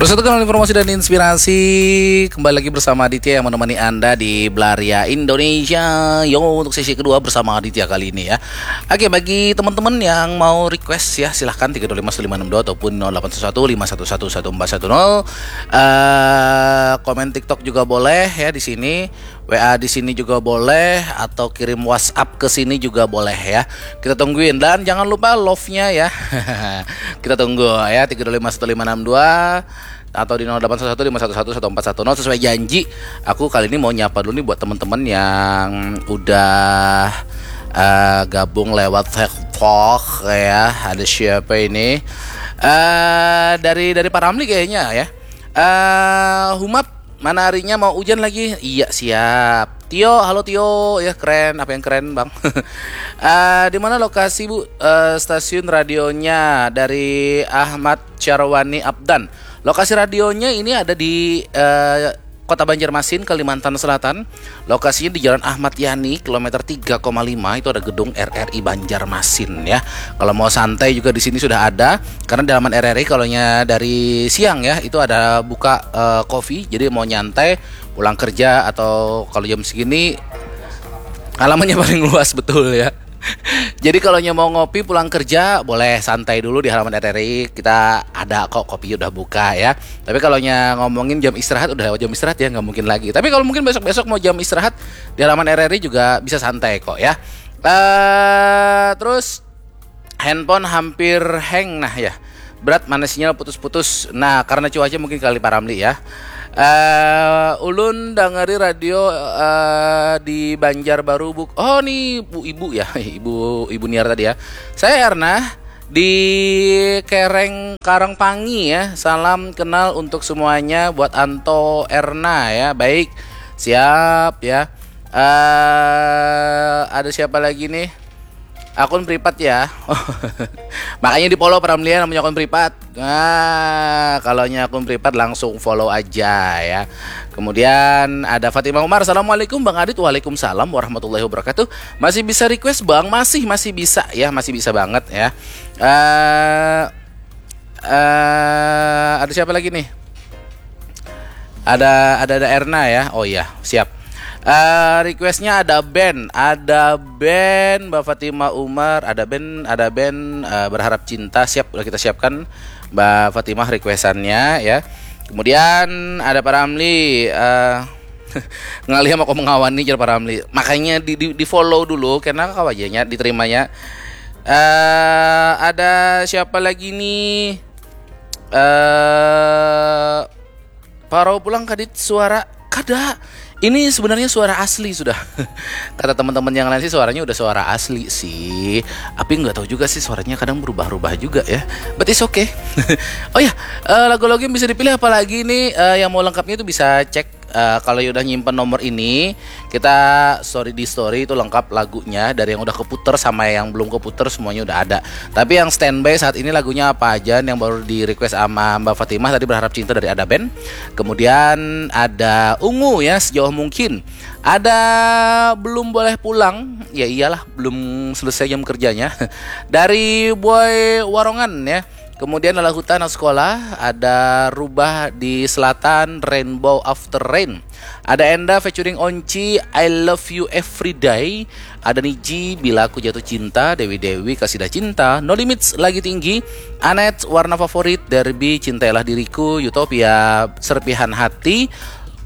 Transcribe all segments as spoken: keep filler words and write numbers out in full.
Bersatu kanal informasi dan inspirasi, kembali lagi bersama Aditya yang menemani Anda di Belaria Indonesia. Yo, untuk sesi kedua bersama Aditya kali ini ya. Oke, bagi teman-teman yang mau request ya, silahkan tiga dua lima satu lima enam dua ataupun nol delapan satu satu lima satu satu satu empat satu nol. Eh, komen TikTok juga boleh ya di sini. W A di sini juga boleh atau kirim WhatsApp ke sini juga boleh ya. Kita tungguin dan jangan lupa love-nya ya. Kita tunggu ya, tiga dua lima satu lima enam dua atau di nol delapan satu satu lima satu satu satu empat satu nol. Sesuai janji, aku kali ini mau nyapa dulu nih buat teman-teman yang udah eh, gabung lewat Facebook ya. Ada siapa ini? Eh, dari dari Pak Ramli kayaknya ya. Eh, Humap, mana harinya mau hujan lagi? Iya, siap. Tio, halo Tio. Ya, keren. Apa yang keren, Bang? Eh, di mana lokasi, Bu? Eh, stasiun radionya dari Ahmad Syarwani Abdan. Lokasi radionya ini ada di eh, Kota Banjarmasin, Kalimantan Selatan. Lokasinya di Jalan Ahmad Yani, kilometer tiga koma lima, itu ada gedung R R I Banjarmasin ya. Kalau mau santai juga di sini sudah ada, karena di halaman R R I, kalau nya dari siang ya, itu ada buka eh, coffee. Jadi mau nyantai, pulang kerja atau kalau jam segini, halamannya paling luas betul ya. Jadi kalau nya mau ngopi pulang kerja, boleh santai dulu di halaman R R I. Kita ada kok, kopi udah buka ya. Tapi kalau nya ngomongin jam istirahat, udah lewat jam istirahat ya, nggak mungkin lagi. Tapi kalau mungkin besok-besok mau jam istirahat, di halaman R R I juga bisa santai kok ya. Eh, terus handphone hampir hang nah ya. Berat, mana sinyal putus-putus. Nah, karena cuaca mungkin kali, Pak Ramli ya. Eh, ulun dangari radio eh, di Banjarbaru, Buk. Oh, nih Bu Ibu ya, Ibu Ibu Niar tadi ya. Saya Erna di Kereng Karangpangi ya. Salam kenal untuk semuanya buat Anto Erna ya. Baik. Siap ya. Eh, ada siapa lagi nih? Akun privat ya. Makanya di-follow, Pak Ramli ya, namanya akun privat. Nah, kalau nya akun privat langsung follow aja ya. Kemudian ada Fatimah Umar, "Assalamualaikum Bang Adit." "Waalaikumsalam warahmatullahi wabarakatuh." "Masih bisa request, Bang?" "Masih, masih bisa ya, masih bisa banget ya. Eh eh ada siapa lagi nih? Ada ada ada Erna ya. Oh iya, siap. Eh, requestnya ada band, ada band Mbak Fatimah Umar, ada band, ada band eh, Berharap Cinta. Siap, udah kita siapkan Mbak Fatimah requestannya ya. Kemudian ada Pak Ramli, eh, "Ngalih sama kau mengawani," jar Pak Ramli. Makanya di, di, di-follow dulu karena kau aja nya diterimanya. Eh, ada siapa lagi nih? Eh, parau pulang kadit suara, kada. Ini sebenarnya suara asli sudah. Kata teman-teman yang lain sih suaranya udah suara asli sih. Tapi nggak tahu juga sih, suaranya kadang berubah-ubah juga ya. But it's okay. Oh ya, eh, lagu-lagu yang bisa dipilih apalagi nih, eh, yang mau lengkapnya itu bisa cek eh, kalau udah nyimpen nomor ini, kita story di story itu lengkap lagunya, dari yang udah keputer sama yang belum keputer semuanya udah ada. Tapi yang standby saat ini lagunya apa aja, yang baru di request sama Mbak Fatimah tadi, Berharap Cinta dari Ada Band. Kemudian ada Ungu ya, Sejauh Mungkin. Ada Belum Boleh Pulang, ya iyalah, belum selesai jam kerjanya. Dari Boy Warongan ya. Kemudian ada Huta Anak Sekolah, ada Rubah di Selatan, Rainbow After Rain. Ada Enda featuring Onci, I Love You Every Day. Ada Niji, Bila Aku Jatuh Cinta, Dewi Dewi, Kasidah Cinta, No Limits, Lagi Tinggi, Anet, Warna Favorit, Derby, Cintailah Diriku, Utopia, Serpihan Hati,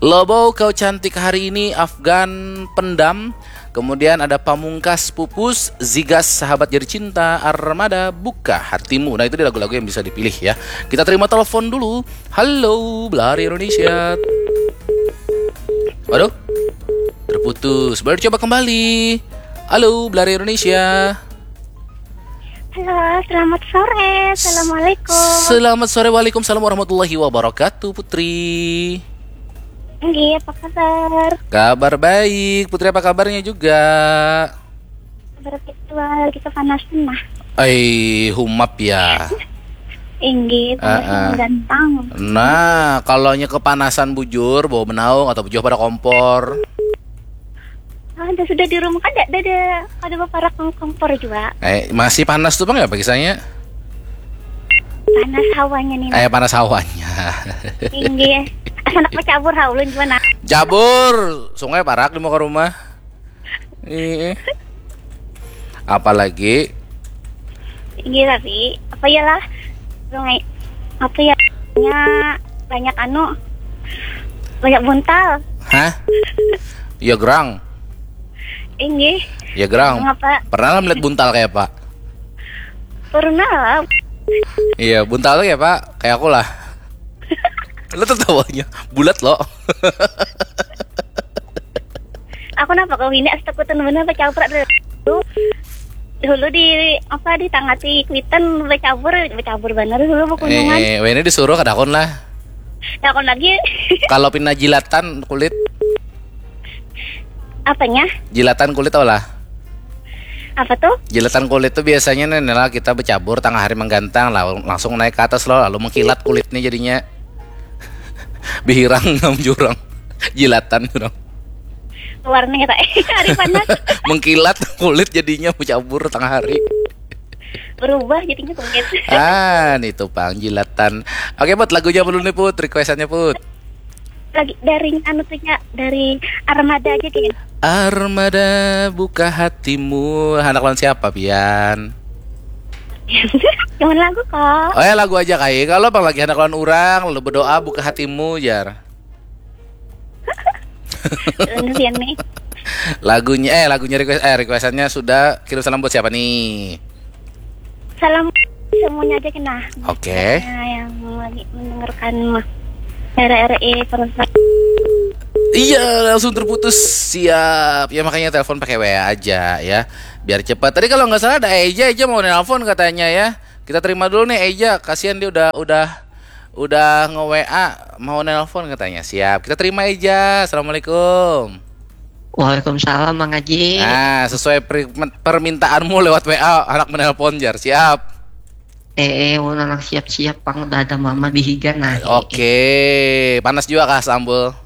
Lobo, Kau Cantik Hari Ini, Afgan, Pendam. Kemudian ada Pamungkas, Pupus, Zigas, Sahabat Jadi Cinta, Armada, Buka Hatimu. Nah, itu dia lagu-lagu yang bisa dipilih ya. Kita terima telepon dulu. Halo, Belari Indonesia. Waduh, terputus. Baru coba kembali. Halo, Belari Indonesia. Halo, selamat sore. Assalamualaikum. Selamat sore, waalaikumsalam warahmatullahi wabarakatuh, Putri. Nggih, apa kabar? Kabar baik, Putri, apa kabarnya juga? Kabar virtual, kita panas nah. Ai, humap ya. Inggih, panas Ah, ah. Gantang. Nah, kalau nya kepanasan bujur, bawa benaung atau bujur pada kompor. Ah, ada sudah di rumah kan ada ada ada beberapa kompor juga. Eh, masih panas tuh, Bang, ya, pagisanya? Panas hawanya nih. Eh, panas hawanya. Inggih. Anak bacabur ha ulun jua nah. Cabur, sungai parak di muka rumah. Ih. Apalagi Inggih tapi apa ya lah? Sungai apa ya? Nya banyak anu banyak buntal. Hah? Ya gerang. Inggih. Ya gerang. Ngapa? Pernah lah melihat buntal kayak apa? Pernah lah. Iya, buntal tuh ya pak. Kayak aku lah. Lo tertawanya bulat lo. Aku napa kau ini astagfirullah bener bacabur dulu. Dulu di apa di tangati kuitan bacabur bacabur bener dulu Eh, bekunungan. eh, wene disuruh kadakon lah. Nah, aku lagi Kalau pina jilatan kulit, Apanya? Jilatan kulit tau lah. Apa tuh? Jilatan kulit tuh biasanya nih lah kita bercabur tengah hari menggantang lah langsung naik ke atas loh lalu mengkilat kulitnya jadinya bihirang nang jurang jilatan jurang Warnanya tak hari panas. Mengkilat kulit jadinya bercabur tengah hari. Berubah jadinya kulit. Ah, nih tuh pang jilatan. Oke put, lagunya apa dulu nih put? Requestannya put. Lagi dari anu tuh ya dari Armada aja deh. Armada buka hatimu. Anak lawan siapa pian? Cuman lagu kok. Oh ya lagu aja kai. Kalau bang lagi anak lawan orang, lalu berdoa buka hatimu jar. Lalu pian nih. Lagunya eh lagunya request eh requestannya sudah kirim salam buat siapa nih? Salam semuanya aja kena. Oke. Nah, yang lagi mendengarkan mah. R R E Perempuan. Iya langsung terputus. Siap. Ya makanya telepon pakai W A aja ya. Biar cepat. Tadi kalau nggak salah ada Eja, Eja mau nelpon katanya ya. Kita terima dulu nih Eja. Kasihan dia udah udah udah nge-W A mau nelpon katanya. Siap. Kita terima Eja. Assalamualaikum. Waalaikumsalam Mang Haji. Nah, sesuai per- permintaanmu lewat W A anak menelpon jar. Siap. Eh, eh, ulun anak siap-siap pang udah ada mama di higa nah. Oke, panas juga kah sambal?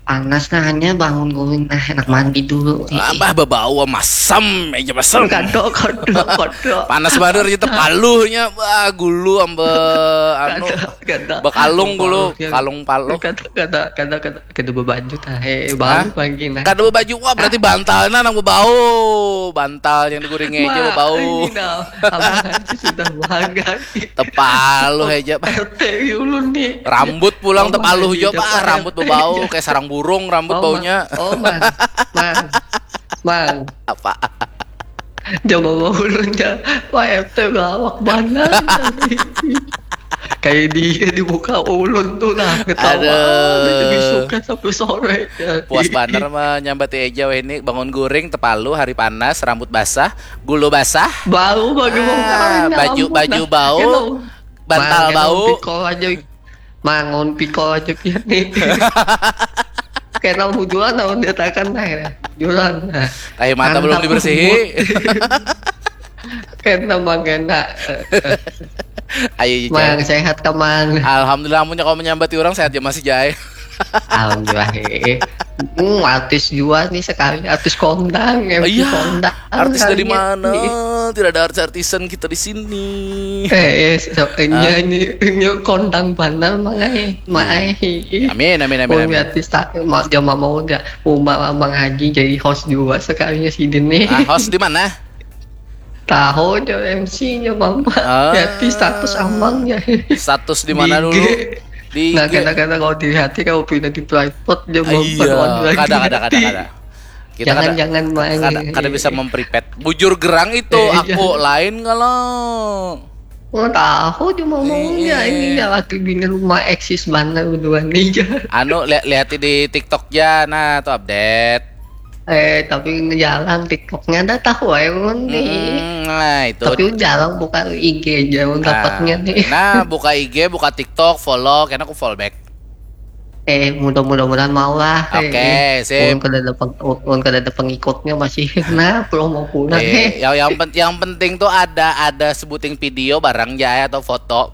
Panas nah hanya bangun guring nah enak mandi dulu. Eh, eh. Abah babau masam aja masam. Kado, kado, kado. Panas banar itu paluhnya bah gulu amba anu Kada. bekalung gulu Paluh, ya. Kalung paluh. Kada, kada, kada, kada, kada bebaju tah. Eh, Hah? baru pagi nah. Kada bebaju wah berarti bantalnya nang bebau. Bantal yang diguringi aja Mak, bebau. Ini nah, abang aja sudah bangga. Tepaluh aja. R T ulun nih. Rambut pulang Oh, tepaluh Mang, jo Haji, bah. Pak, Rambut R T bebau aja. Kayak sarang burung rambut Oh, baunya. Mang. Oh, mang. Mang. Mang. Apa? Coba mau ulun ya. Pak R T lawak banar. Kayak dia dibuka ulun tuh nah ketawa. Aduh. Dia bisukan sampai sore. Ya. Puas banar menyambati Eja weh ini bangun guring tepaluh hari panas rambut basah gulu basah. Bau bagi Ah, baju baju bau, bantal bau. Pikol aja. Mangun pikol aja pian nih. Kena hujuan tahun dia takan nah ya. Jualan. Nah. Tahi mata belum Mantap. Dibersihi. Kena mangena. Ayo Mang Ica. Sehat teman. Alhamdulillah amunnya kau menyambati orang sehat ya masih jai. Alhamdulillah. Eh. Hmm, artis juga nih sekali artis kondang ya Iya. kondang. Artis dari Kalinya. Mana? Tidak ada artis-artisan kita di sini. Eh, eh, so, ini ini ini kondang banar mang ai, mang ai. Amin amin amin Mau amin. Artis tak mau jama mau nggak mau mang haji jadi host juga sekalinya sidin nih. Ah, host di mana? Tahu jo M C-nya mama. Ah. Jadi status amangnya. Status di mana dulu? Di Nah, I G. Kadang-kadang kalau dilihat kalau pindah di private dia mau Iya, kada kada kada kada. Kita Jangan kada, jangan main. Kada, kada bisa memprivate. Bujur gerang itu Eh, aku jangan. Lain kalau Oh, tahu cuma maunya Iya. Ini ya laki bini rumah eksis mana duluan nih. Anu lihat lihat di TikTok ya nah tuh update. Eh, tapi jarang TikToknya ada tahu ya ulun nih. Hmm, nah itu. Tapi jarang buka I G aja ulun Nah, dapatnya nih. Nah, buka I G, buka TikTok, follow, karena aku follow back. Eh, mudah-mudahan mau lah. Oke, Eh, sip. Ulun kada ada peng, ulun kada ada pengikutnya masih. Nah, promo pulang. Eh, yang yang, pen- yang penting tuh ada ada sebuting video barang ya atau foto.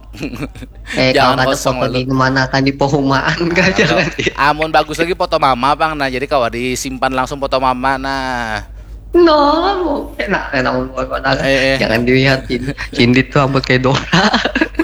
Eh, Jangan kalau ada kosong foto lalu. Di mana kan di perumahan kan jangan. Amun bagus lagi foto mama pang nah jadi kawa disimpan langsung foto mama nah. No, enak enak mau padahal Eh, eh. Jangan dilihat Cindit tuh rambut kayak Dora.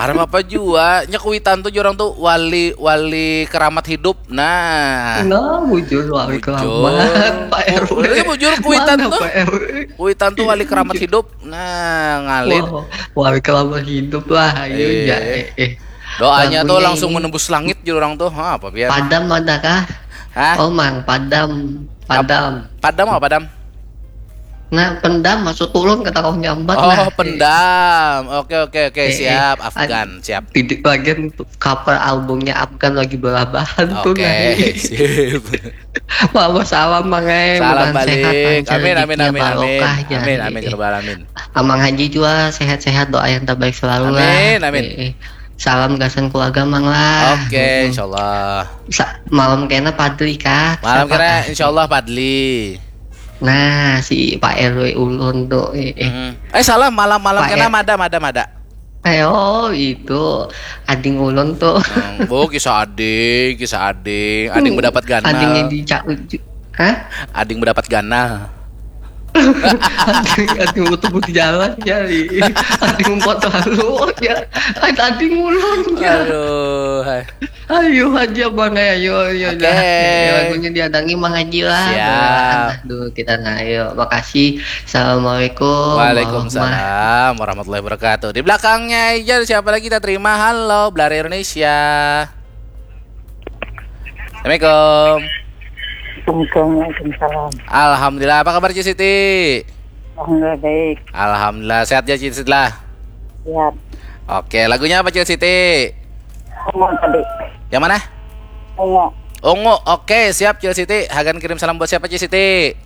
Kada apa-apa jua. Nya kuitan tuh jar urang tuh wali, wali keramat hidup. Nah. Nah, bujur wali Bujur. keramat, Pak R W. Iya, bujur, kuitan Mana tuh. Pak R W? Kuitan tuh wali keramat hidup. Nah, ngalir. Wah, wali keramat hidup lah, ayo Iya. ya, eh, eh. Doanya tuh Lagunya langsung ini. Menembus langit jar urang tuh. Ha, apa biar? Padam ada kah? Hah? Oh, Mang, padam, padam. Padam apa padam? Nah, pendam maksud ulun kata kau nyambat Oh, nah. Pendam. Oke, oke, oke. Eh, eh. Siap, Ad- Afgan. Siap. Di, di bagian cover albumnya Afgan lagi belabahan tuh Oke, nah. Sip. Mama salam Mang ai, Salam mudahan sehat, balik. lancar, Amin, amin, rezekinya amin, amin. barokah, ya. Amin, Eh, amin, eh. ya rabbal alamin. Amang Haji juga sehat-sehat, doa yang terbaik selalu lah. Amin, amin. Eh, eh. Salam gasan keluarga Mang lah. Oke, Mm-mm. Insyaallah. Sa- malam kena Padli kah? Malam Siapa kena kah? Insyaallah Padli. Nah, si Pak R W ulun tuh. Eh, eh. Hmm. Eh, salah, malam-malam Pak kena R- Madam, Madam, Madam. Eh, oh, itu ading ulun tuh. Hmm, bu, kisah ading, kisah ading. Ading mendapat ganal. Adingnya di Cak Uju. Hah? Ading mendapat ganal. Ading, ading butuh di jalan ya. Ading empat lalu ya. Ading ulun ya. Aduh, hai. Ayo aja Bang, ayo, ayo Oke. dah. Ya, lagunya diadangi Mang Haji lah. Siap. Bawaan lah dulu kita nah. Ayo, makasih. Assalamualaikum. Waalaikumsalam warahmatullahi wabarakatuh. Di belakangnya aja siapa lagi kita terima? Halo, Belari Indonesia. Assalamualaikum. Assalamualaikum, waalaikumsalam. Alhamdulillah, apa kabar Cil Siti? Alhamdulillah baik. Alhamdulillah, sehat ya Cil Siti lah. Siap. Oke, lagunya apa Cil Siti? Ungu tadi. Yang mana? Ungu. Ungu. Oke, siap Cil Siti. Hagan kirim salam buat siapa Cil Siti?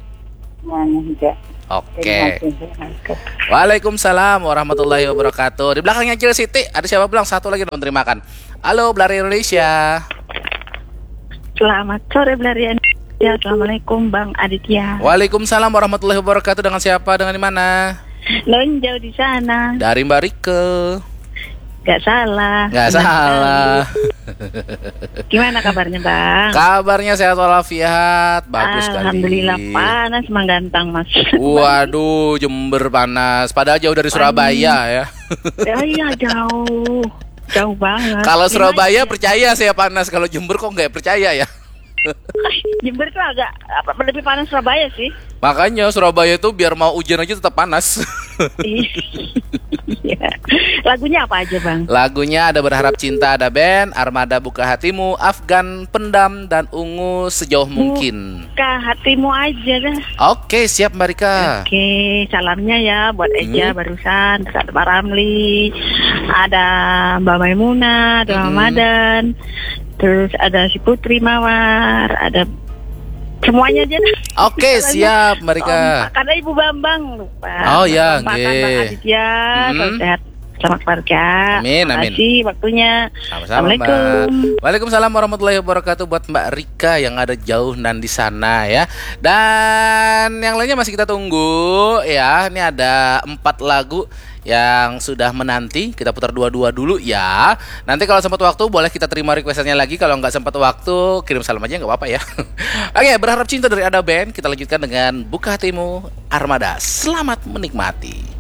Mana juga. Oke. Assalamualaikum. Waalaikumsalam warahmatullahi wabarakatuh. Di belakangnya Cil Siti, ada siapa bilang satu lagi dong terimakan. Halo, Belari Indonesia. Selamat sore Belarian. Ya, assalamualaikum Bang Aditya. Waalaikumsalam warahmatullahi wabarakatuh. Dengan siapa? Dengan di mana? Nun jauh di sana. Dari Mbak Rike. Gak salah. Nggak Benar salah. sekali. Gimana kabarnya Bang? Kabarnya sehat walafiat, bagus sekali. Alhamdulillah, panas menggantang Mas. Waduh, Jember panas. Padahal jauh dari Surabaya ya. Ya iya, jauh. Jauh banget. Kalau Gimana Surabaya ya? Percaya saya panas, kalau Jember kok nggak percaya ya? Jember tuh agak apa, lebih panas Surabaya sih. Makanya Surabaya tuh biar mau hujan aja tetap panas. Iya. Lagunya apa aja Bang? Lagunya ada Berharap Cinta, ada band, Armada, Buka Hatimu, Afgan, Pendam, dan Ungu, Sejauh Mungkin. Buka Hatimu aja dah. Oke, siap Mbak Rika. Oke, salamnya ya buat Eja Hmm. Barusan, terus ada Pak Ramli, ada Mbak Maimunah, ada Hmm. Ramadan, terus ada si Putri Mawar, ada semuanya aja dah. Oke, Salamnya siap Mbak Rika. kompak. Ada Ibu Bambang lupa. Oh, ya, Bambang, nggih. Bang Aditya, Hmm. salam sehat, selamat keluarga. Amin, amin. Makasih waktunya. Sama-sama, Mbak. Assalamualaikum. Waalaikumsalam warahmatullahi wabarakatuh buat Mbak Rika yang ada jauh nan di sana ya. Dan yang lainnya masih kita tunggu ya. Ini ada empat lagu yang sudah menanti. Kita putar dua-dua dulu ya. Nanti kalau sempat waktu boleh kita terima requestannya lagi. Kalau nggak sempat waktu, kirim salam aja nggak apa-apa ya. Oke, Berharap Cinta dari Ada Band. Kita lanjutkan dengan Buka Hatimu, Armada. Selamat menikmati.